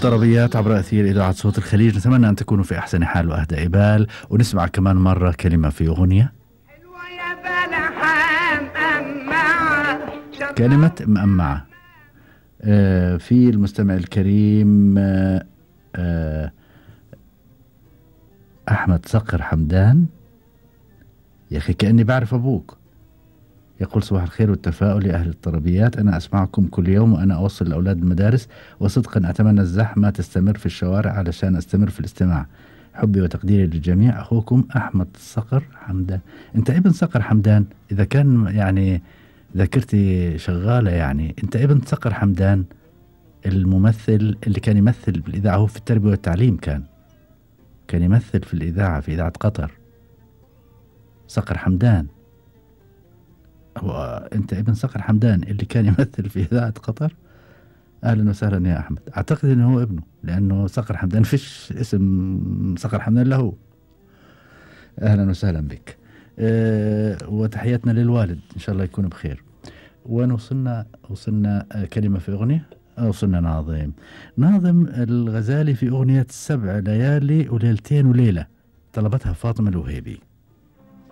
الطربيات عبر أثير إذاعة صوت الخليج. نتمنى أن تكونوا في أحسن حال وأهدى بال، ونسمع كمان مرة كلمة في أغنية. كلمة مأمعة. في المستمع الكريم أحمد صقر حمدان. يا أخي كأني بعرف أبوك. يقول صباح الخير والتفاؤل يا أهل الطربيات، أنا أسمعكم كل يوم وأنا أوصل الأولاد المدارس، وصدقا أتمنى الزحمة تستمر في الشوارع علشان أستمر في الاستماع. حبي وتقديري للجميع، أخوكم أحمد صقر حمدان. أنت ابن صقر حمدان؟ إذا كان يعني ذاكرتي شغالة، يعني أنت ابن صقر حمدان الممثل اللي كان يمثل بالإذاعة، هو في التربية والتعليم كان يمثل في الإذاعة في إذاعة قطر. صقر حمدان، أنت ابن صقر حمدان اللي كان يمثل في إذاعة قطر. أهلا وسهلا يا أحمد. أعتقد أنه هو ابنه، لأنه صقر حمدان فيش اسم صقر حمدان له. أهلا وسهلا بك. وتحياتنا للوالد، إن شاء الله يكون بخير. وين وصلنا كلمة في أغنية. وصلنا ناظم الغزالي في أغنية 7 ليالي وليلتين وليلة، طلبتها فاطمة الوهيبي.